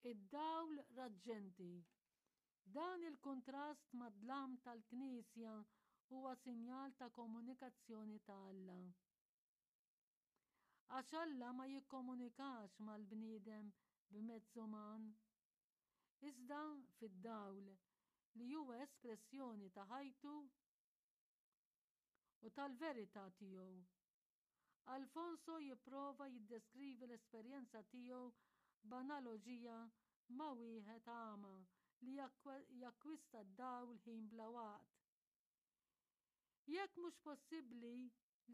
Id-dawl raġġenti. Dan il-kuntrast mad-dlam tal-knisja huwa sinjal ta' komunikazzjoni ta' Alla. Għax Alla ma jikkomunikax mal-bniedem b'mezz uman, iżda fid-dawl li huwa espressjoni ta' ħajtu u tal-verità tiegħu. Alfonso jipprova jiddeskrivi l-esperjenza tiegħu b'analoġija ma' wieħed agħma li jakkwista d-dawl ħin bla waqt. Jekk mhux possibbli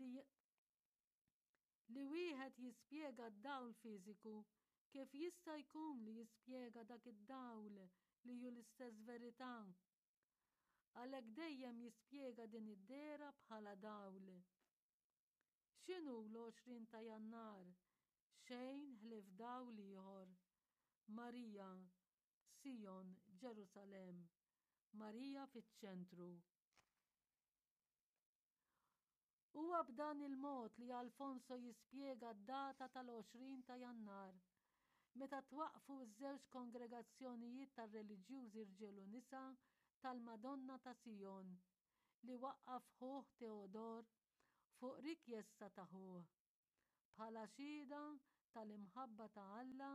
li li wieħed jispjega d-dawl fiżiku, kif jista' jkun li jispjega dak id-dawl li hu l-istess verità? Għalhekk dejjem jispjega din id-dehra bħala dawl. X'inhu l-20 ta' Jannar? Xejn ħlief dawl ieħor. Marija, Sijon, Ġerusalemm. Marija fiċ-ċentru. Huwa b'dan il-mod li Alfonso jispjega d-data tal-20 ta' Jannar, meta twaqqfu ż-żewġ kongregazzjonijiet tar-reliġjużi rġiel u nisa tal-Madonna ta' Sijon, li waqqaf ħuh Teodor fuq rikjesta ta' ħuh, bħala xhieda tal-imħabba ta' Alla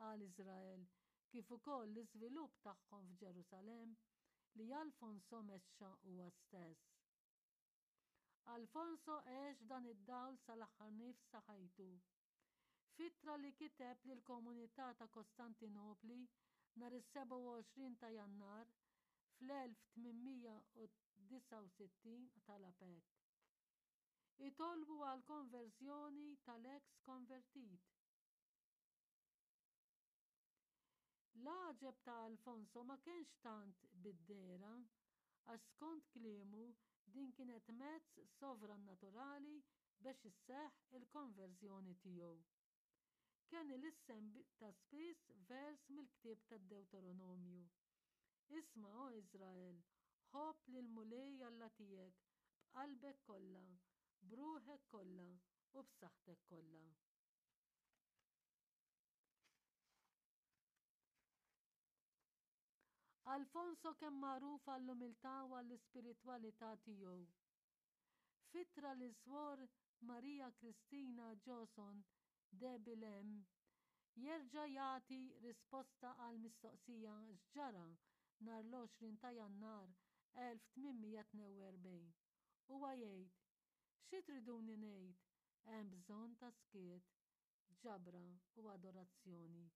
għal Iżrael kif ukoll l-iżvilupp tagħhom f'Ġerusalemm li Alfonso mexxa huwa stess. Alfonso għex dan id-dawl sal-aħħar nifs ta' ħajtu. F'ittra li kiteb lill-komunità ta' Kostantinopli nhar is-27 ta' Jannar fl-1869 talab hekk, Itolbu għall-konverżjoni tal-eks konvertit. L-għaġeb ta' Alfonso ma kienx tant bid-dehra, għax skont kliemu din kienet mezz sovrannaturali bex isseħħ il-konverżjoni tiegħu. Kien ilissen ta' spiss vers mill-ktieb tad-Dewteronomju. Isma', O Iżrael, ħobb lill-Mulej Alla tiegħek b'qalbek kollha, b'ruħek kollha u b'saħħtek kollha. Alfonso kemm magħruf għall-umiltà u għall-ispiritwalità tiegħu. F'ittra lil Swor Maria Cristina Joson de Bilem jerġa' jagħti risposta għall-mistoqsija x'ġara nhar l-20 ta' Jannar 1842. Huwa jgħid, Xi triduni ngħid, hemm bżonn ta' skiet, ġabra u adorazzjoni.